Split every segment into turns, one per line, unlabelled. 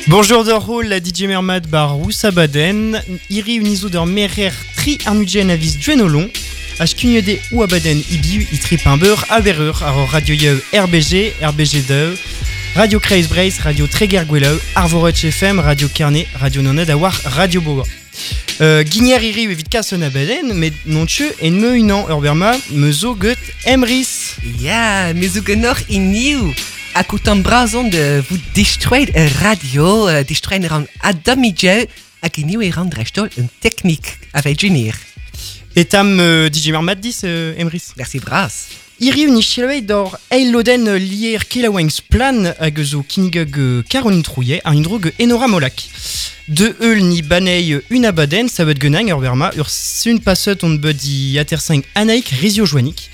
Bonjour d'or la DJ Mermad bar Roussabaden, iri unizo d'ur merer tri arnudjen avis duenolon, h ou abaden ibiu i tri pimber a berreur ar radio yeu RBG, RBG2, Radio Kreis Breiz, Radio Treger Gweleu, Arvoret FM, Radio Carnet, Radio Noned a war Radio Boa. Guigner iri evit kas un abaden, met non tcheu en me unan ur berma me zo get Emrys.
Ja, me zo genor in nieuw. Ak out brazon de vous destroy radio, destroy ran adamidje, hag in nieuw e ran dreistol un technique avec Junior.
Etam DJ Mermad dis Emrys.
Merci bras.
Iri un ichilwei d'or eiloden lier kelaweng plan hag zo kinigeg Caroline Trouillet ar indro ge Enora Molak. De eul ni banei un abaden savet genang ur berma ur sun passet on bud i aterseng anaik rizio joanik.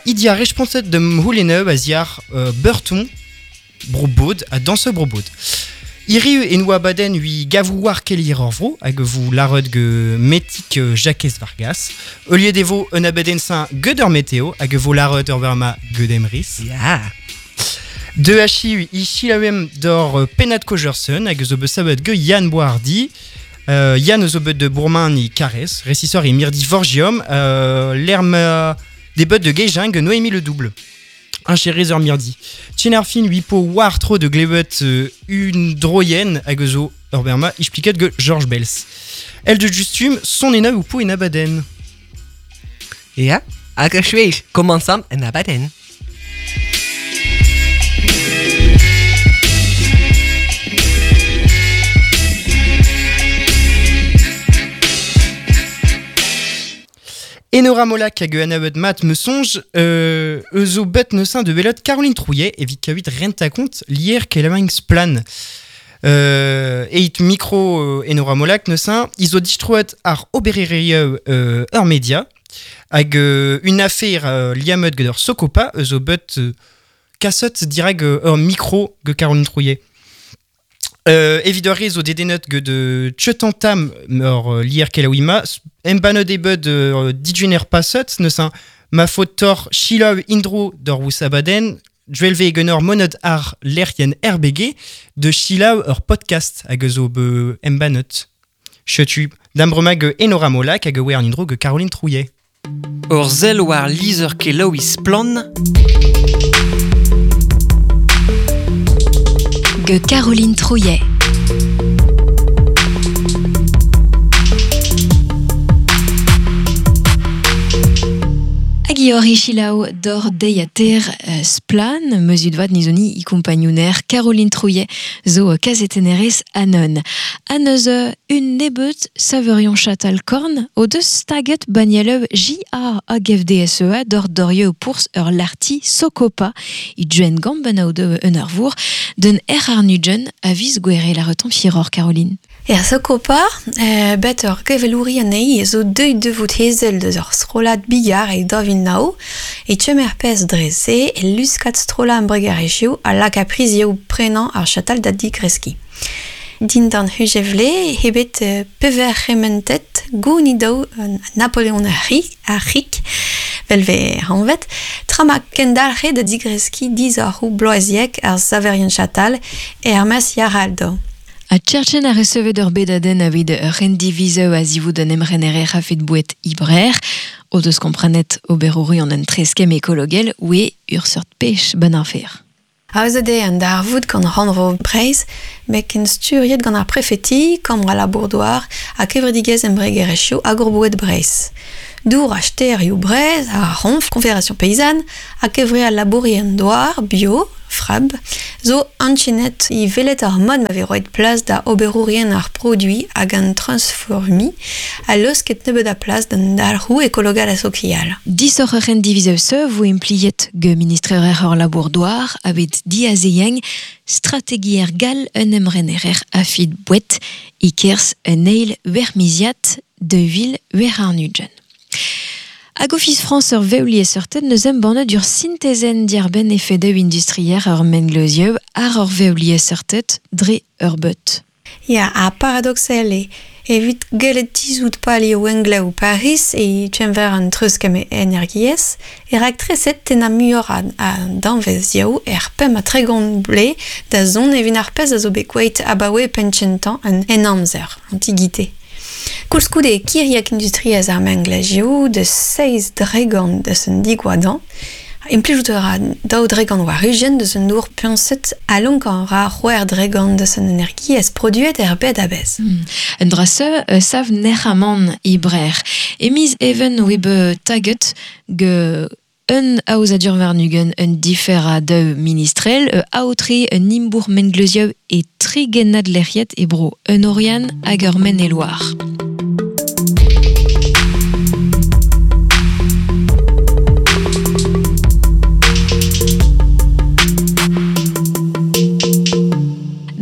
Idia responset de mhouleneu a ziar beurton brobod a danse brobod. Iri en oa baden ui gavouar kelir ur vro hag vous larod ge metik Jacques Vargas. Eulier devo un abaden saint ge d'ur météo hag vo larod ur berma ge d'emris.
Ja.
De hachi i chilawem d'or penat kojersen hag zo bet ge Yann Boardi. Yann zo bet de Bourmain i Carès, ressisseur i Mirdi Vorgium, l'erme des bud de Gejang Noémie le double. Un chéri ur mirdi. Tchenarfin ui po war tro de glebet une droyen hag zo ur berma expliquet ge Georges Bels. El de justum son ena ou po en abaden.
Ja, hag a chweich, commençam en abaden.
Enora Molak hag an mat me songe eus zo bet neusin de belot Caroline Trouillet evit kavit renta kont lier kelamang splan. Eit micro Enora Molak neusin izo distroet ar obererieu ur media hag une affaire liamet gant ur sokopa eus zo bet kasot dirag ur micro ge Caroline Trouillet. Evit ur zo dedenet ge de tchetantam ur lier kelawima embanot e bud dijuner passet neusin ma faute chilaw indro d'ur wousabaden dwelve genor monod ar lerien RBG de chilaw ur podcast hag zo be embanot. Chetu dambrema ge Enora Molak hag wer indro ge Caroline Trouillet.
Ur zel war lizer kelaou splan
Ge Caroline Trouillet. Hag i chilaou d'or deiater splan, mesud vat nizoni i compagnouner Caroline Trouillet zo kazetenerez anon. Aneuze un nebeut saverion chatal korn o deus staget banieleu JA hag FDSEA d'or dorieu pours ur larti sokopa i duen gamben au de un ur vour d'un er ar nujen avis gwere la reton firor Caroline.
Er sokopa, bet ur gevelouri anei zo deuit de vout hezel deus ur strolat bigar e davin nao, e tchemer pez dreze e luskat strola an bregarejiou a lak a prizioù prenañ ar chatal da digreski. Dindan hujevle hebet pever rementet gounidaou Napoleon ar rik, velve hanvet, trama kendalc'he da digreski diz ar hou bloaziek ar saverion chatal e ar mas yaraldo.
A tcherchen a recevet ur bedaden avit ur rendivizeu a zivout an emrenerer a fet bouet ibrer, o deus komprenet oberouri an en treskem ekologel oe ur seurt pech ban afer.
Aozet eo an darvoud gant rannvro Breizh, met ken sturiet gant ar prefeti, kambr a labour-douar ha kevredigezh embregerezhioù hag ur boued Breizh. Dour a sterioù Breizh, a ronf, Confédération Paysanne, ha kevre al labourien douar, bio, frab, zo anchenet i velet ar mod ma ve roet plas da oberourien ar produit hag an transformi a leusket nebeut a plas d'an dalc'hoù ekologal a sokial.
Disoc'h ur rendivizeu se vo impliet ge ministrer ur labour-douar avit diazeyeng strategier gal un emrenerer afid bouet ikers un eil wermiziat de vil wer ar nujen. Hag Office France ur veulier seurtet neus embannet ur synthezen diarben efedeu industrier ur mengleuzieu ar ur veulier seurtet dre ur beut.
Ya, a paradoxel e evit gellet tizout palio englev Paris e tchenver an treuzkemm energiezh e raktreset tennañ muioc'h a danvezioù er 35 blez da zont evit ar pezh a zo bet gwelet abaoe penn-kentañ an Henamzer, Antigite. Koulskoude e kiriek industriezh ar mengleuzioù deus 7% deus an digoadañ. Implijout a ra 2% war 20 deus an dour puñset ha lonkañ a ra 6% deus an energiezh produet er bed a-bezh.
Un dra se sav nec'hamant e Brec'h. E miz Even oe bet taget ge un aozadur warn-ugent un difer a daou ministrel, aotre un imbourc'h mengleuzioù e tri gennad lec'hiet e bro un Oriant hag ur Maine-et-Loire.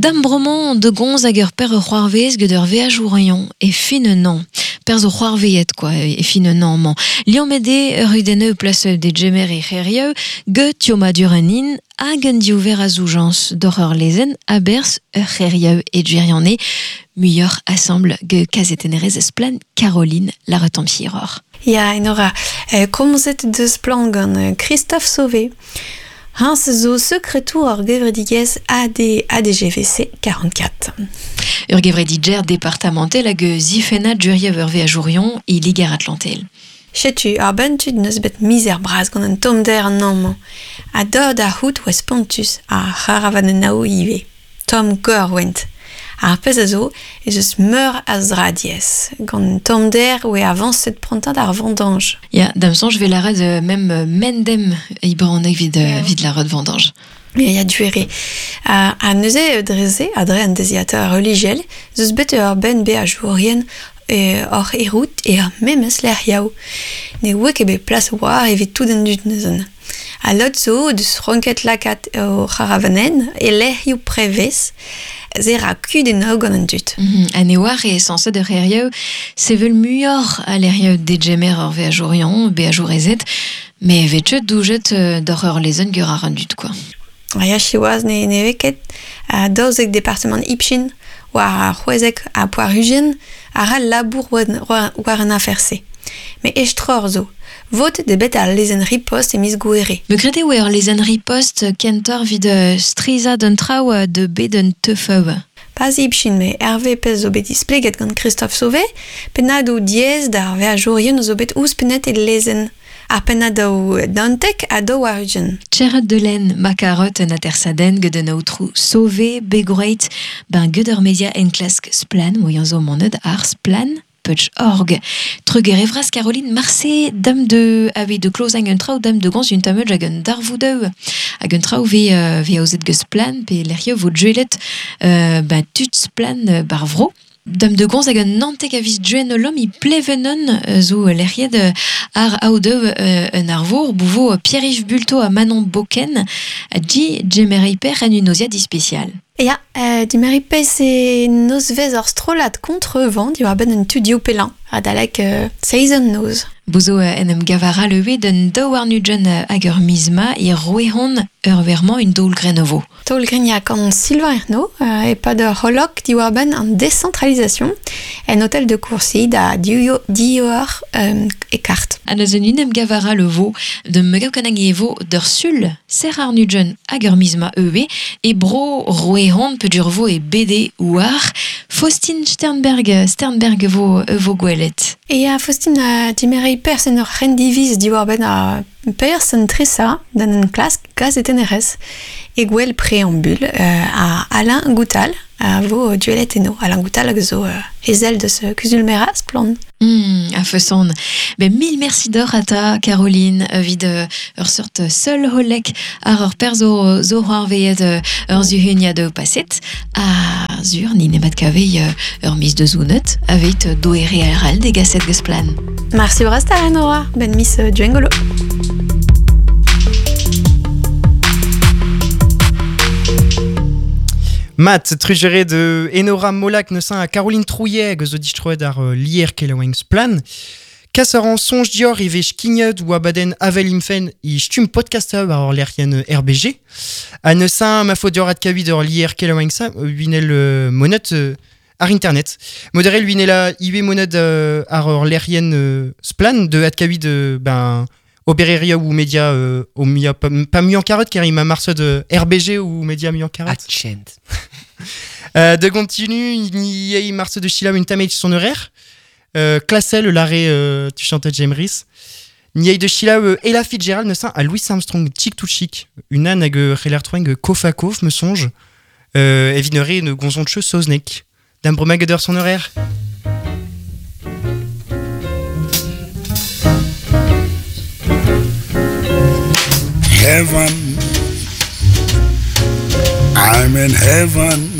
Dam bremañ de gonz hag ur per ur c'hoarvez get ur veajourion e fin un an. Per zo c'hoarveet quoi e fin un an mañ. Liammet eo ur rudenneu plas de gemer e c'herieu get tiomadur an in hag un diouver a zoujañs doc'h ur lezenn a-berzh ur c'herieu e gwirionez muioc'h asambl get kazetennerez Splann Caroline Laretampier-Roc'h.
Ya, Enora, komzet deus Splann gant Christophe Sauvé. Hans zo sekretour ar gevredigezh AD ADGVC 44.
Ur gevredigezh departamentel hag zifennad juriev ur veajourion e Liger-Atlantel.
Setu ar benn-tud n'eus bet mizer bras gant an tommder an amañ. Ha dor da c'hoût oa spontus ar c'haravanennoù ivez. Tomm gor oent. Ar pezh a zo ez eus meur a zra diaes. Gant tommder oe avañset prantad ar vendange.
Ya, da'm soñj 'vez lâret mem mendem e bronneg evit evit lâret vendange.
Ya, ya, duere. Ha neuze dre-se, ha dre an deiziataer relijiel, ez eus bet ur benn beajourien oc'h errout er memes lec'hioù. Ne oa ket bet plas war evit tout an dud neuze. Ha lod zo deus ranket lakaat o c'haravanenn e lec'hioù prevez, se ra kudennoù gant an dud.
Ha ne oar e sañset ur c'hêrioù sevel muioc'h a lec'hioù degemer ur veajourion, beajourezed, met 'vez ket doujet doc'h ur lezenn geur ar an dud quoi.
Ya, siwazh ne vez ket. 12 departamant Ipshin war ar c'hwezek ha poar-ugent a ra labour war an afer-se. Met estroc'h zo. Votet eo bet al lezenn ripost e miz Gouhere.
Me gred eo ur lezenn ripost kentoc'h evit strizhañ d'un traoù de bet un teufeu.
Pas Ipshin, met Hervé pezh zo bet displeget gant Christophe Sauvé, pennadoù diaes d'ar veajourien zo bet ouzhpennet e lezenn. Ar pennadoù dantek ha daou war-ugent.
Tcherret de len ma karot un atersadenn get un aotrou Sauvé begroeit ben get ur media enklask Splann moian zo monet ar Splann Putsch org. Trugere vras Caroline Marse dam de ave de klozang un traoù dam de gans un tameul hag un darvoudeu hag un traoù ve ve aozet geus Splann pe lec'hioù vo djuelet ben tud Splann bar vro. Dam de gonz hag un nantek a viz duen lom i plevenon zo lec'hiet ar aodeu un arvour bouvo Pierre-Yves Bulto ha Manon Boken a di djemerei per en un oziad ispecial.
Ya, dimerei pez e nozvezh ur strollad kontrevent diwar-benn un tudioù pellañ adalek seizh an noz.
Bouzo en em gavara leue d'un daou warn-ugent hag ur miz-ma e roehon ur vermañ un daol grenovo.
Taol grignac gant Sylvain Ernaud e-pad ur c'holok diwar-benn an décentralisation en hôtel de Courcy da div eur e kart.
Ha neuze un em gavara le vo de megaukanag e vo d'ur sul ser ar nugent hag ur miz-ma eue e bro roehon pedur vo e BD war Faustine Sternberg vo gwelet.
E a Faustine dimerei pers en ur c'hendiviz diwar-benn ar pers an tresa d'an enklask gazetennerez e gwell préambule a Alain Goutal a vo duelet eno. Alain Goutal hag zo ezel deus kuzul-merañ Splann.
A feson. Ben mil merci d'or à ta Caroline vid ur sort seul holek ar ur per zo c'hoarveet ur zuhunia de passet a zur ni nemat kave ur miz de zounet aveit doere aral de gaset geus Splann.
Merci bras ta Nora, ben mis duengolo.
Mat, trugere de Enora Molac neusin a Caroline Trouillet hag eus o distroet ar lier kelaouenn Splann. Kas ar an soñj dior e vez skignet ou abadenn Avel Imfen i stumm podcaster war ur lec'hienn RBG. Ha neuze ma faot dior adkavit ur lier kelaouenn sa, winel monet ar internet. Moderel winela iwe monet ar ur lec'hienn splan de adkavit ben obereria ou media o mia pa, pa muiañ karet ker ima marseud RBG ou media muiañ karet.
Atchent.
De continu, il y a marseud de Chila une tamage son horaire. Classel l'arrêt tu chantais James Reese. N'y de Chila Ella Fitzgerald ne à Louis Armstrong chic tout chic. Une an hag reler troeng kof a kof me songe. Evinere ne gonzon che soznek. D'am bromag son horaire.
Heaven. I'm in heaven.